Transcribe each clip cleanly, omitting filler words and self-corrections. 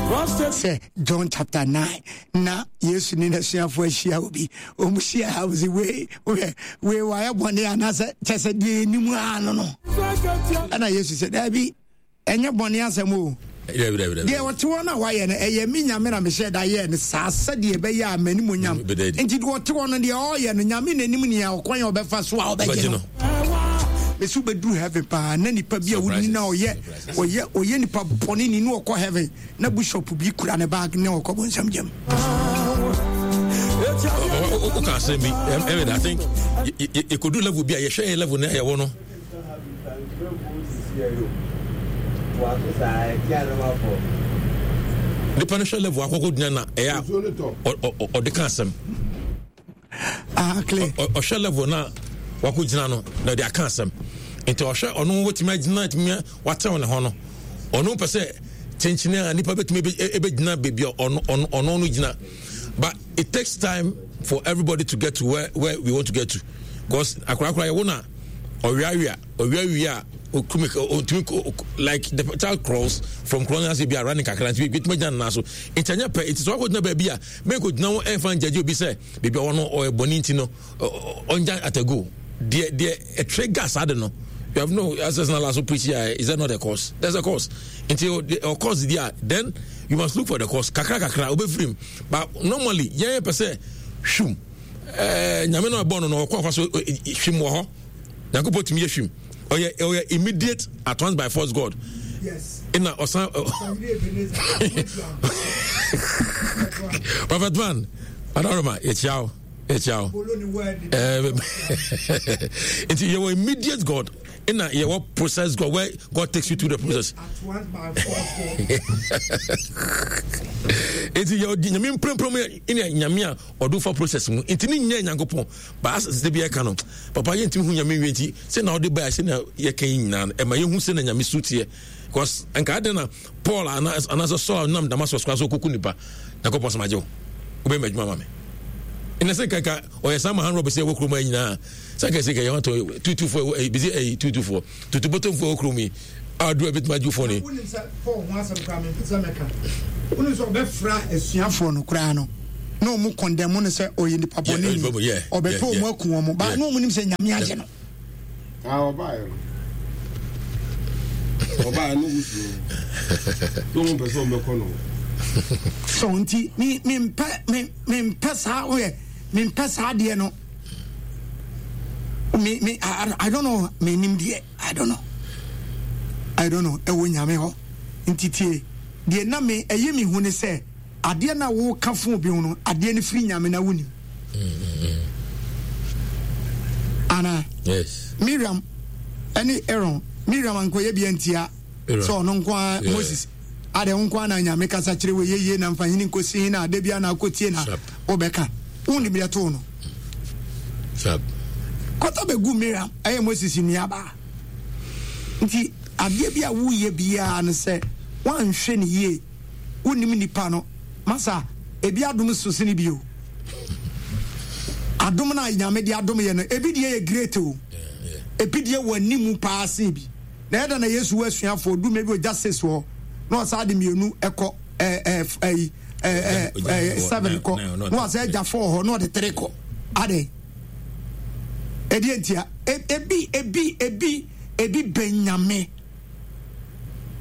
Sɛ John chapter 9 na Yesu ne n'asuafoɔ ahyia obi, wɔn hyia ha wɔsi wei wohwɛ wei wayɛ bɔne anaasɛ kyɛ sɛ deɛ anim ara no no. Ɛna Yesu sɛ daabi ɛnyɛ bɔne asɛm o. Deɛ ɔte hɔ no a wayɛ no ɛyɛ me Nyame na mehyɛ da yɛɛ no saa sɛdeɛ ɛbɛyɛ a m'animuonyam nti deɛ ɔte hɔ no deɛ ɔreyɛ no Nyame n'anim nea ɔkwan a ɔbɛfa so a ɔbɛgye no. Mesi wobɛduru heaven paa na nipa bi a wonni na ɔyɛ ɔyɛ ɔyɛ nipa bɔne ni na ɔkɔ heaven na bishop bi kura ne bag ne ɔkɔ bonsam gyam. Woka asɛm bi ɛmɛ I think yɛkɔdu level bi a yɛhwɛ yɛ level no a yɛwɔ no. Nipa no hwɛ level akɔkɔ gyina na ɛyɛ a ɔde ka asɛm. Ah, ɔhwɛ level na wakɔ gyina no na ɔde aka asɛm nti ɔhwɛ ɔno wɔtumi agyina tumi watew ne ho no ɔno pɛ sɛ kyenkyene a nipa bɛtumi ɛbɛgyina baabi a ɔno ɔno ɔno no gyina but it takes time for everybody to get to where where we want to get to because akorakora yɛ wo na ɔweawea ɔweawea a okumi ɔtumi like the child crawls from crawling ase bi a running kakra nti bi tumi gyina ne nan so nti ɛnyɛ pɛ nti sɛ wakɔ gyina baabi a mɛnkɔ gyina ho ɛnfa ngyagye obi sɛ baabi a ɔwɔ no ɔyɛ bɔne nti no ɔngya atago deɛ deɛ ɛtrɛ gas ade no you have no access na last preach here is that not a cause there's a cause nti o cause deɛ then you must look for the cause kakra kakra obɛfirim but normally yɛn pɛ sɛ hwim ɛɛ nyame na ɔbɔ no no ɔkɔ afa so hwim wɔ hɔ nyankopɔn tumi yɛ hwim ɔyɛ ɔyɛ immediate at once by force god ɛna ɔsan prophet man adaroma yɛkyia wo yɛkyia wo nti yɛwɔ immediate god ɛna yɛwɔ process god where god takes you through the process nti yɛwɔ nyame mprempren mu ɛna nyame a ɔde fa process mu nti ne nyɛ nyankopɔn But as da bi ɛka no, papa yɛntumi hu nyame nwie nti sɛ na ɔde bae sɛ na yɛka yi nyinaa no ɛma yɛhu sɛ na nyame su teɛ because nka adɛn na Paul anaasɛ Saul nam Damascus kwan so ɔkɔku nipa Nyankopɔn sɛ magye wo wobɛyɛ m'adwuma ma me ɛnɛ sɛ nka ɔyɛ saa ma han rɔbɛ sɛ ɛwɔ kurom ayi nyinaa sɛ nka sɛ nka yɛn atɔ tutufoɔ ɛyi bisi ɛyi tutufoɔ tutubotomfoɔ ɛwɔ kurom yi a duro ɛbɛtumi agye fo ni. wonim sɛ Paul ho asɛm koraa mempɛ sɛ mɛka wonim sɛ ɔbɛfra asuafoɔ no koraa no na ɔmo kɔndɛm no sɛ ɔyɛ nipa bɔne ni ɔbɛpɛ ɔmo aku ɔmo ba na ɔmo nim sɛ nyame agye no. ɔbaeɛ no ɔbaeɛ no wusuro na ɔmo mpɛ sɛ ɔmo bɛkɔ no. So nti mi mi mpɛ mi mi mpɛ saa ɔyɛ mi mpɛ saa adeɛ no mi mi I, I don't know mi nim deɛ. I don't know. I don't know. Ɛwɔ nyame hɔ. Nti tie, deɛ na me ɛyɛ me hu ne sɛ adeɛ na woka fo obi ho no, adeɛ no firi nyame na wonim. Ana? Yes. Miriam ɛne Aaron, Miriam ankɔyɛ bi antia sɛ ɔno nko ara Moses. Adɛ wo nko ara na nyame kasa kyerɛ wɔ yɛyie na mfa hene nkɔsi he na ada bi ana akɔtie na wobɛka. Wonim deɛ too no. Kɔtɔ bɛgu Miriam ɛyɛ Moses nuabaa. Nti adeɛ bi a woyɛ biara no sɛ woanhwɛ ne yie wonim nipa no masa ebi adom so sene bi o. Adom no a nyame de adom yɛ no ebi deɛ yɛ great o. Ebi deɛ wɔ anim paa sen bi. Na ɛda na Yesu wɔ asuafoɔ du mmienu ogya sis hɔ na ɔsaa de mmienu ɛkɔ ɛɛ ɛyi ɛɛ ɛɛ seven kɔ na ɔsɛ agya four hɔ na ɔde three kɔ adɛ ɛdeɛ ntia ebi ebi ebi ebi bɛn nyame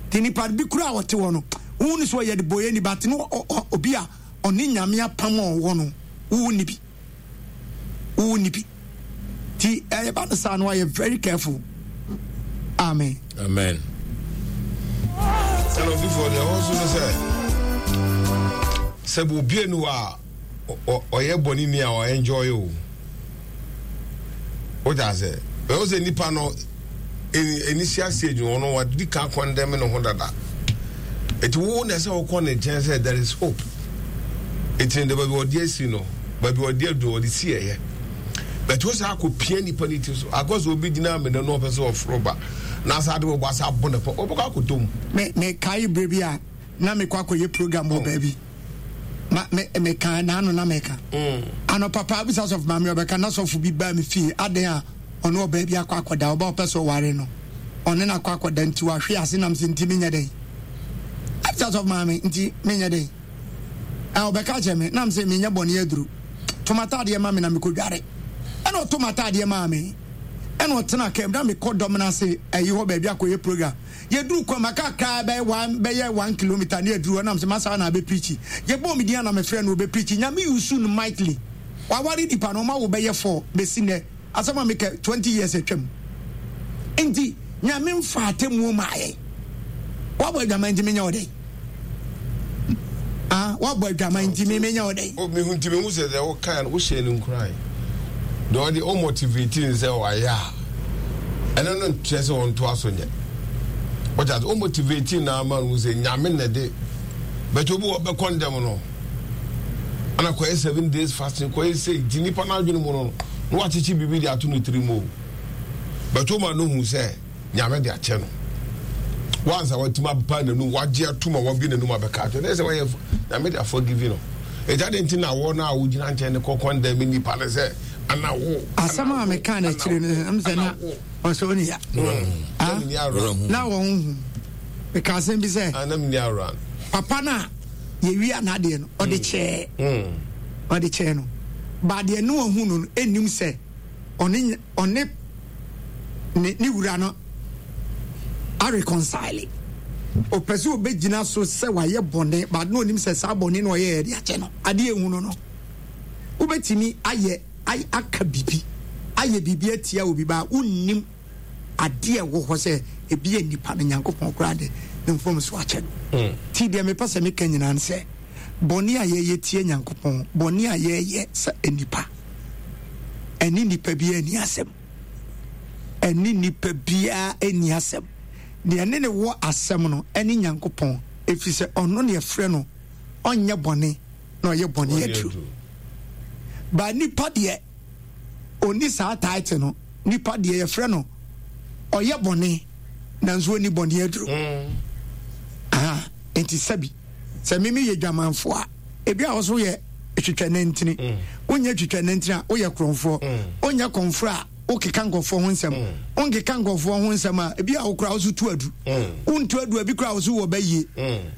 te nipa bi kura a ɔte hɔ no wohu ne so ɔyɛ de bɔyɛ ni ba te no obi a ɔne nyame apam a ɔwɔ no wohu ne bi wo ni bi ti ɛyɛ ba no saa no ayɛ very careful amen. Amen. Ɛna odifoɔ deɛ ɛwɔ so no sɛ sɛ obie no a ɔyɛ bɔne ni a ɔenjoy o wogya sɛ ɛwɔ sɛ nipa no initial stage no ɔno wadi kan condemn ne ho dada eti wo na ɛsɛ wokɔ ne nkyɛn sɛ there is hope eti ne baabi ɔde asi no baabi ɔde adu ɔde si ɛyɛ bɛtɛ wo sɛ akɔ pia nipa ne ti so akɔ sɛ obi gyina amena no ɔpɛ sɛ ɔforo ba na asa ade wɔbɔ asa abɔ ne pɔ ɔbɛkɔ akɔtɔ mu. Me me kae bere bi a na mekɔ akɔyɛ program wɔ baabi ma me meka n'ano na meka mm. anɔpa paa bisa sɔfo maame ɔbɛka na sɔfo bi baa me fie adan a ɔne ɔbaa bi akɔ akɔda ɔba ɔpɛ sɛ ɔware no ɔne no akɔ akɔda nti wahwe ase nam sɛ nti menyɛ dɛn. Sɛ asɔfo maame nti menyɛ dɛn? A ɔbɛka kyerɛ me nam sɛ menyɛ bɔne aduru. To m'ataadeɛ ma me na mekɔdware. Ɛna ɔto m'ataadeɛ maa me. Ɛna ɔtena kaa mu na mekɔ dɔm no ase ayi hɔ baabi akɔyɛ program. Yɛduru kwan mu aka kakra bɛyɛ one bɛyɛ 1 kilometre ne aduru hɔ nam sɛ masa na abɛpreachi. Yɛbɔɔ me din a na mefrɛ no ɔbɛpreachi. Nyame yusu no mightily. Waware nipa no ɔma wo bɛyɛ four bɛsi nnɛ. Asɛm a meka 20 years atwam. Nti Nyame mfa atemmuo maa yɛn. Wabɔ adwaman nti menyɛ wo dɛn? Ah, wabɔ adwaman nti me menyɛ wo dɛn? O mehu nti mehu sɛ deɛ wokae no wohyɛ no nkuran. Deɛ ɔde o motivate no sɛ wayɛ a ɛno no nkyerɛ sɛ ɔntoa so nyɛ. Wɔkyɛ o motivate no ama no sɛ Nyame na ɛde bɛtɛ obi wɔ bɛkɔ ndɛm no. Ana kɔyɛ 7 days fasting kɔyɛ sɛ nti nipa no adwene mu no na wakyekye biribi de ato ne tiri mu o. Bɛtɛ o ma no hu sɛ Nyame de akyɛ no. Once a watumi aba n'anum wagye atum a wabie n'anum abɛka akyɛ ne sɛ wɔyɛ Nyame de aforgive no. Ɛgya de nti na wɔ no a wogyina nkyɛn ne kɔ condemn nipa no sɛ ana wo. Asɛm a meka no akyire no ɛm sɛ na ɔsɛ ɔne ya. Na wɔn hu. Meka asɛm bi sɛ papa no a yɛwia n'adeɛ no ɔde kyɛɛ ɔde kyɛɛ no ba deɛ ne ɔhu no no ɛnnim sɛ ɔne ɔne ne ne wura no areconcile. Ɔpɛ sɛ ɔbɛgyina so sɛ wayɛ bɔne but na ɔnim sɛ saa bɔne no ɔyɛ yɛde akyɛ no. Adeɛ ehu no no, wobɛtumi ayɛ aka biribi ayɛ biribi atia obi ba wonnim adeɛ ɛwɔ hɔ sɛ ebi yɛ nipa no Nyankopɔn koraa de ne mfomso akyɛ no. Ti deɛ mepɛ sɛ meka nyinaa ne sɛ bɔne a yɛyɛ tia Nyankopɔn, bɔne a yɛyɛ sɛ nipa, ɛne nipa biara nni asɛm. Ɛne nipa biara nni asɛm. Deɛ ɛne ne wɔ asɛm no ɛne Nyankopɔn, ɛfiri sɛ ɔno ne ɛfrɛ no ɔnyɛ bɔne na ɔyɛ bɔne aduru. Ba nipa deɛ ɔnni saa title no, nipa deɛ yɛfrɛ no ɔyɛ bɔne nanso ɔnni bɔne aduru. Aha, nti sɛbi sɛ mimi yɛ dwamanfoɔ a, ebi a wɔso yɛ twitwa nantini, wonyɛ twitwa nantini a woyɛ korɔmfoɔ, wonyɛ kɔmfoɔ a wokeka nkurɔfoɔ ho nsɛm, wonkeka nkurɔfoɔ ho nsɛm a ebi a wokora wo so tu adu, wontu adu a ebi kora wo so wɔ bɛyie,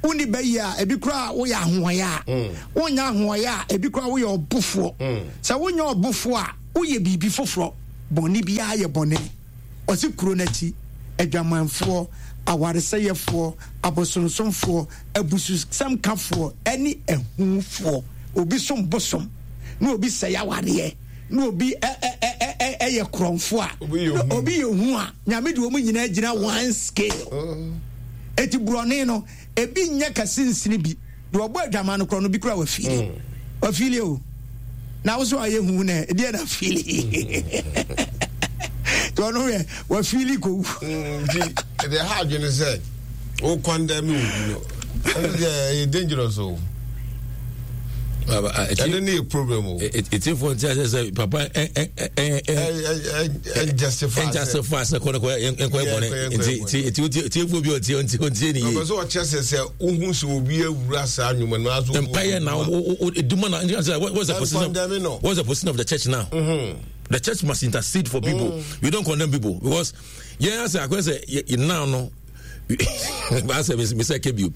wonni bɛyie a ebi kora woyɛ ahoɔyɛ a, wonyɛ ahoɔyɛ a ebi kora woyɛ ɔbofoɔ, sɛ wonyɛ ɔbofoɔ a woyɛ biribi foforɔ, bɔne biara yɛ bɔne. Ɔse kuro no akyi, adwamanfoɔ, awaresɛeɛfoɔ, abosonsomfoɔ, abususɛmkafoɔ ne ahufoɔ. Obi som bosom, na obi sɛe awareɛ, na obi yɛ korɔmfoɔ a, obi yɛ hu a, Nyame de wɔn nyinaa gyina one scale. Eti borɔne no, ebi nyɛ kɛse nsene bi. Deɛ ɔbɔ adwaman no korɔ no bi kura wafili. Wafili o. Na wo so ayɛ hu na ɛdeɛ na fili. Nti ɔno yɛ wafili kɔwu. Nti ɛdeɛ ha adwene sɛ wo condemn wo bi no ɛno deɛ ɛyɛ dangerous o. Ɛno ne yɛ problem o. Etiefo nti asɛ sɛ papa ɛnjustify sɛ kɔ ne kɔ nkɔ ɛbɔne nti nti etiefo bi ɔtie nti ɔntie ne yie. Ɔbɛ sɛ ɔkyɛ sɛ sɛ wohu sɛ obi awura saa nnwuma no aso. Mpaeɛ na eduma na what's the position what's the position of the church now? Mm-hmm. The church must intercede for people. Mm. We don't condemn people because yɛn asɛ akɔyɛ sɛ yɛ now no. Asɛ mesɛ kɛ bio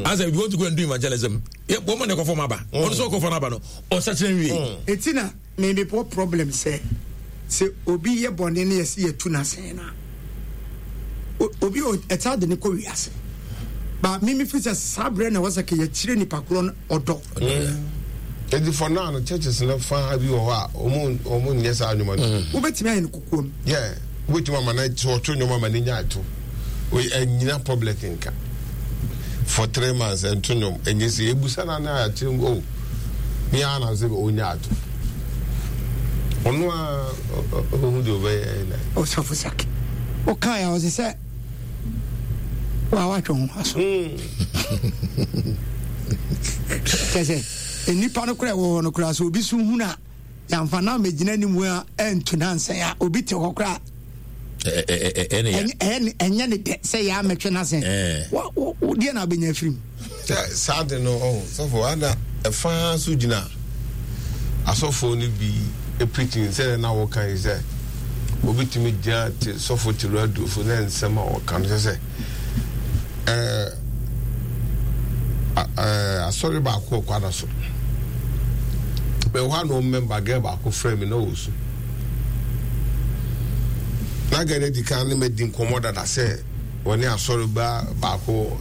asɛ if you want to go and do evangelism wɔn mo na ɛkɔfɔ ma ba ɔno sɛ ɔkɔfɔ no aba no ɔsakyerɛ nwie. Eti na me me wɔ problem sɛ sɛ obi yɛ bɔne ne yɛsi yɛtu n'asɛn na obi ɛtaa de ne kɔ wiase ba me me fi sɛ saa berɛ na ɛwɔ sɛ kɛ yɛkyerɛ nipa korɔ no ɔdɔ. Eti for now no churches no fa bi wɔ hɔ a wɔn wɔn nyɛ saa nnwuma no. Wobɛtumi ayɛ no kokoam. Yeah, wobɛtumi ama no sɛ ɔto nnwom ama no nya ato. Ɛnyina public nka. For 3 months ɛnto nnwom ɛnyɛ sɛ ebusa na na akyerɛ mu oh me ara na sɛ ɔnya ato. Ɔno a ɔbɛhu deɛ ɔbɛyɛ na. Ɔsɔfo Saki, wokae a ɔse sɛ wa watwe ho aso. Kyɛ sɛ nnipa no koraa ɛwɔ hɔ no koraa sɛ obi so hunu a yɛamfa no ammɛgyina anim a ɛnto nansɛn a obi te hɔ koraa ɛnyɛ ne dɛ sɛ yɛ amɛtwe no asɛn deɛ na wobɛnya afiri mu. Sɛ saa de no ɔho sɔfo ana ɛfa so gyina asɔfoɔ no bi preaching sɛ na wɔka yi sɛ obi tumi gyina te sɔfo te radio so na nsɛm a wɔka no sɛ sɛ ɛɛ. Asɔre baako wɔ Kwada so. Mewɔ hɔ a na wɔn mɛmba gɛl baako frɛ me na ɔresu. Na gɛl no adi kan ne madi nkɔmmɔ dada sɛ wɔne asɔre ba baako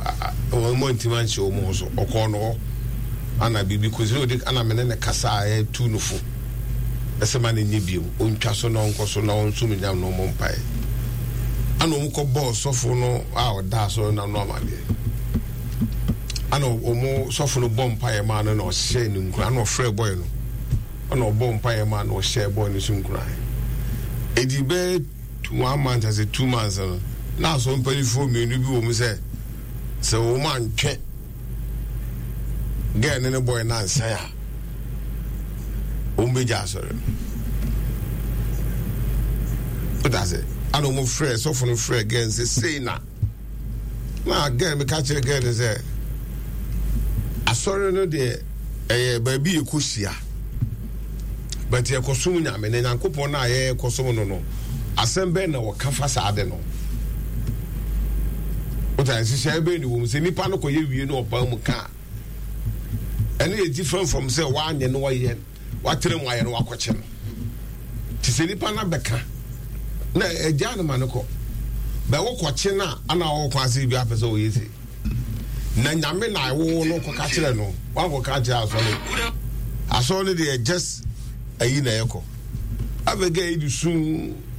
wɔn mu antimi anhyɛ wɔn ho so. Ɔkɔɔ no hɔ ana biribi kɔsi na ɔdi ana me ne no kasa a ɛtu no fo. Ɛsɛ ma no nyɛ bio, ɔntwa so na ɔnkɔ so na ɔnsom nyam na ɔmmɔ mpaeɛ. Ana wɔn kɔ bɔɔ sɔfo no a ɔda asɔre no ano amaneɛ. Ana wɔn sɔfo no bɔ mpaeɛ maa no na ɔhyɛɛ no nkuran. Ana ɔfrɛ bɔe no, ana ɔbɔ mpaeɛ maa no ɔhyɛɛ bɔe no so nkuran. Edi bɛyɛ one month ase 2 months no, na asɔre mpanimfoɔ mmienu bi wɔ mu sɛ sɛ wɔn antwɛ girl ne ne boy no ansan a wɔn bɛgya asɔre no. Wota sɛ ana wɔn frɛ sɔfo no frɛ girl sɛ sei na na girl mi ka kyerɛ girl no sɛ asɔre no deɛ ɛyɛ baabi yɛ kɔ hyia but yɛkɔsom Nyame na Nyankopɔn no a yɛkɔsom no, asɛm bɛn na wɔka fa saa de no? Wota nhyehyɛe bɛn ne wɔ mu sɛ nipa no kɔyɛ wie no ɔpaa mu ka a ɛno yɛ different from sɛ woanyɛ no wayɛ watena mu ayɛ no wakɔkyɛ no. Nti sɛ nipa no abɛka na agyaa no ma no kɔ bɛwo kɔkye no a ana wɔwɔ kwan sɛ bi apɛ sɛ wɔyɛ sei na Nyame na ɛwowo no kɔka kyerɛ no wankɔka kyerɛ asɔre. Asɔre no deɛ just ayi na ɛkɔ abɛga yi de su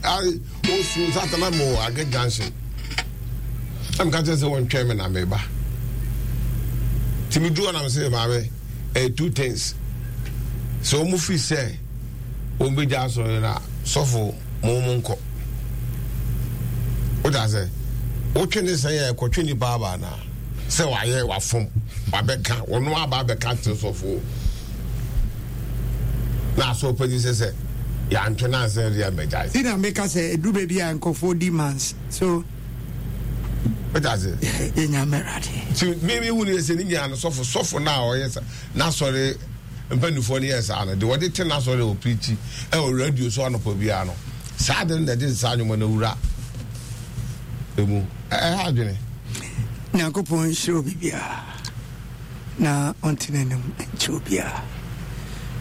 ɔsu satana mo agɛ junction na meka kyerɛ sɛ wɔntwɛn me na meba. Nti medu hɔ na mesɛ maame ɛyɛ two things sɛ wɔn firi sɛ wɔn bɛgya asɔre na sɔfo mo mo nkɔ wota sɛ wotwe ne sɛn yɛ kɔtwe nipa aba anaa sɛ wayɛ wafom wabɛka wɔn aba abɛka kyerɛ sɔfo na asɔ panyin sɛ yɛantwe no ansɛ de abɛgyae. Ti na meka sɛ ɛduru baabi a nkurɔfoɔ di mans so. Wota sɛ yɛnya mmerade. Nti me hu ne sɛ ne nyinaa no sɔfo sɔfo no a ɔyɛ sa n'asɔre mpanimfoɔ no yɛ saa no de wɔde te n'asɔre a ɔpirikyi ɛwɔ radio so anɔpa biara no saa de no na ɛde saa nnwoma no awura emu ɛha adwene. Nyankopɔn nhyira obi biara na ɔnte n'anim nkyerɛ obiara.